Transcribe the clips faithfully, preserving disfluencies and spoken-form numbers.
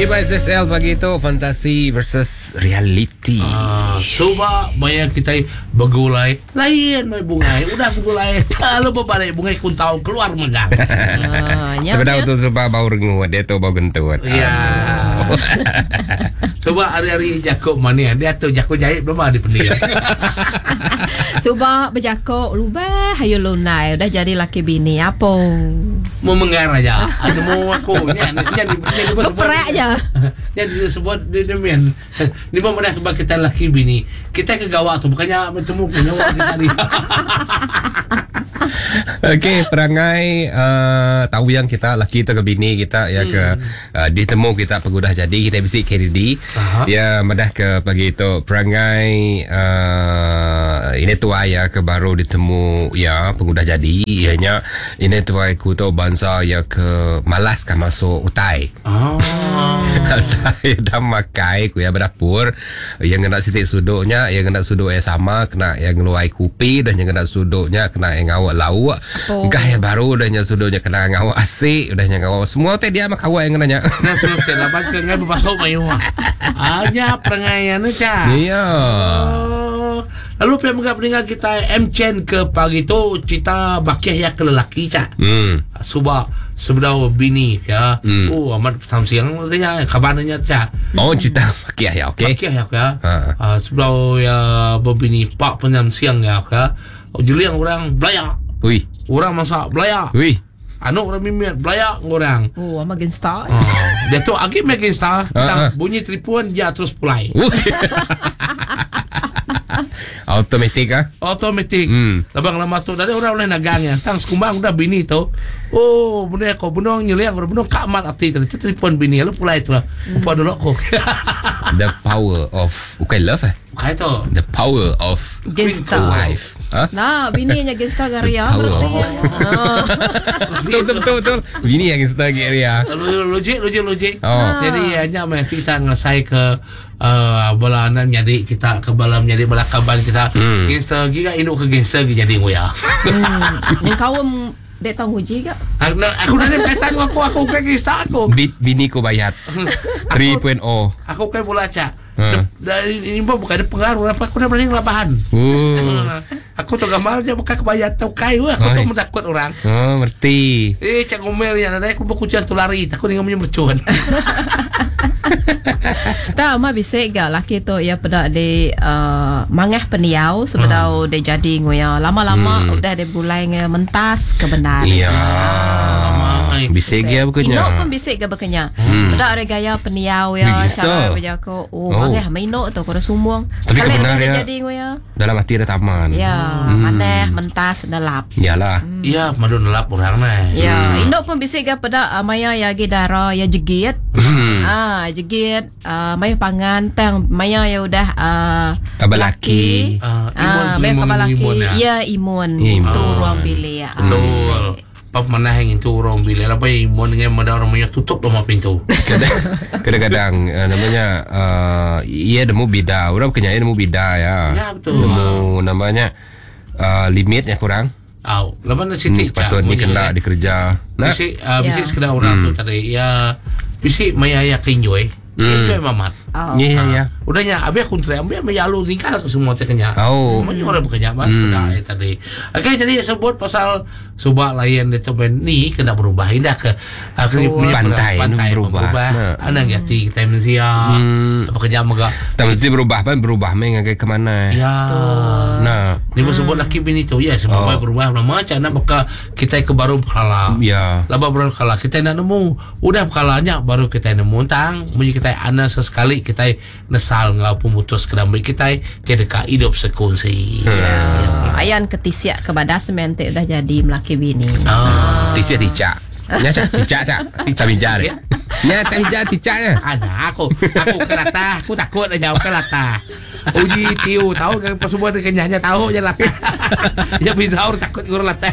Lagi ba S S L pagi tu, fantasi versus reality. Ah, suba maya kita begulai lain mai bungai, udah begulai kalau berbalik bungai kuntau keluar megang. Ah, Sebedau tu suba bau rengut, dia tu bau gentut. Ya. Suba hari-hari Jakob mana dia tu Jakob jahit belum ada pendiam. Suba berjakok lubah hayu lunai udah jadi laki bini apa? Mau menggar aja. Ada mau aku nya nya nya beperak aja. Nya disebut dia demian. Ni pun pernah kebak kita laki bini. Kita ke gawak tu bukannya bertemu ke nyawa kita ni. Okey, perangai uh, tahu yang kita laki tu ke bini kita ya ke uh, ditemu kita pengudah jadi kita bisi K D D. Aha. Ya madah ke pagi tu perangai uh, ini tuai ya ke baru ditemu ya pengudah jadi ianya ini tuai ku tu bangsa ya ke malas kan masuk utai. Oh. Saya dah makai ku ya berdapur yang kena sitik sudutnya yang kena sudut yang sama kena yang ngeluai kupi dan yang kena sudutnya kena yang ngawak lauk. Oh. Gah yang baru dah nya sudutnya kena ngawak asik udah nya ngawak semua teh dia mak awak yang kena nya. Nah semua teh laban ke ngai bebasok mayu. Hanya perangaian ca. Ya. Oh. Lalu pihak mengap pendengar kita M Chen ke pagi tu cerita bakih ya ke lelaki ca. Hmm. Suba sebedau bini ya. Hmm. Oh amat samsiang katanya kabarnya ca. Oh cerita bakih ya okey. Bakih ya ya. Ha. Uh, sebedau ya berbini pak penyam siang ya ya. Oh, jeliang orang belayak. Ui. Orang masak belayak. Ui. Anak orang mimiat belayak orang. Oh, ama gangsta. Oh, dia tu agi main gangsta, Ha, ha. bunyi telefon dia terus pulai. Automatik ah. Automatik. Hmm. Labang lama tu dari orang boleh nagang ya. Tang sekumbang udah bini tu. Oh, benda aku benong nyeliang orang benong kamat hati tu. Itu telefon bini lalu pulai tu lah. Upa dulu aku. The power of bukan love eh. Bukan tu. The power of Gangsta. wife. Ha? Nah, bininya gangsta garia The power berarti. of- Ah. Betul betul betul betul. Bini yang gangsta garia. Logik logik logik. Oh. Jadi hanya nanti kita ngelesai ke uh, bala anak menjadi kita ke bala menjadi bala kaban kita. Hmm. Gangster giga induk ke gangster gi jadi ngoya. Hmm. Yang kaum dek tahu uji ke? Aku aku dah kaitan aku aku ke gangster aku. Bi- bini ku bayar tiga titik nol. Aku ke bola cak. Hmm. Dari ini pun bukan ada pengaruh apa aku dah berani ngelabahan. Oh. Hmm. Aku tu gamal je bukan kebaya tau kai aku tu Oi. mendakut orang. Oh, ngerti. Eh cak ngomel yang ada aku berkucian tu lari takut dengan punya mercun. Tak mah bisa gak laki tu ya pada di uh, mangah peniau sebedau dia jadi ngoya lama-lama Hmm. udah dia bulai nge mentas kebenar. Ya. Ai. Bisa ge bukannya. Inok pun bisik ke bekenya. Hmm. Pada ada gaya peniau ya, Wih, cara gangster. berjako. Oh, Oh. mangah mainok tu kau sumung. Tapi Kali kebenar udah dia ya. jadi ngoya. Dalam hati ada taman. Ya, Hmm. maneh mentas nelap. Yalah. Ya, madu nelap orang nah. Ya, induk pun bisik ke pada uh, maya ya gi dara ya jegit. Hmm. Ah, jegit uh, maya pangan tang maya ya udah uh, Abang laki. Ah, imun, Ah, maya imun, kabal laki. imun, ya. Ya, imun. Ya, imun. Tu ruang bilik. Ah, Betul. bisik. Pap mana yang itu orang bila apa imun dengan mada orang punya tutup rumah pintu. Kadang- Kadang-kadang uh, namanya uh, ia nemu bida. Orang bukannya ia nemu bida ya. Ya, betul. Nemu namanya uh, limitnya kurang. Au, lepas nak Ni siti patut ni kena dikerja. Nah. Bisi uh, bisi Ya. sekedar orang tu tadi ya bisi maya ya kenjoy. Hmm. Enjoy mamat. Oh. Ya ya ya. Udahnya abi aku teriak, abi abi alu tinggal ke semua teh kenya. Oh. Banyak orang bekerja mas Hmm. hmm. tadi. Okey jadi sebut pasal subak lain itu ben ni kena berubah indah ke aku Betul. punya Pantai pantai ni berubah. berubah. Nah. Anak jati kita manusia. Hmm. Apa kerja mega. Tak mesti berubah kan berubah main ngagai ke mana. Ya. Nah. Ni hmm. sebut laki bini tu ya sebab Oh. oh. berubah lama macam nak buka kita ke baru berkala. Ya. Laba baru berkala kita nak nemu. Udah berkalanya baru kita nemu tang bunyi kita ana sesekali kita nesal ngau pemutus kedamai kita tidak hidup sekongsi. Ya. Ayan ketisiak kepada sementik udah jadi melaki bini. Ah. Tisik ticak. Nya cak ticak cak. Ticak bija deh. Nya tak bija ticak nya. Ada aku, aku ke latah, aku takut dah jauh ke latah. Uji tiu tahu kan semua dia kenyanya tahu je latah. Ya bisa orang takut guru latah.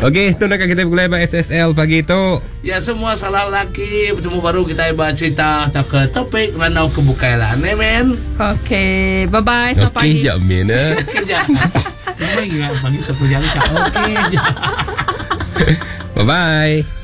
Okey, tu nak kita mulai ba S S L pagi tu. Ya semua salah laki bertemu baru kita buat cerita atau ke topik ranau kebukailan. Amen. Okey, bye bye selamat Okey, pagi. jap min eh. Kejap. Memang ya pagi terpulang. Okey. Bye bye.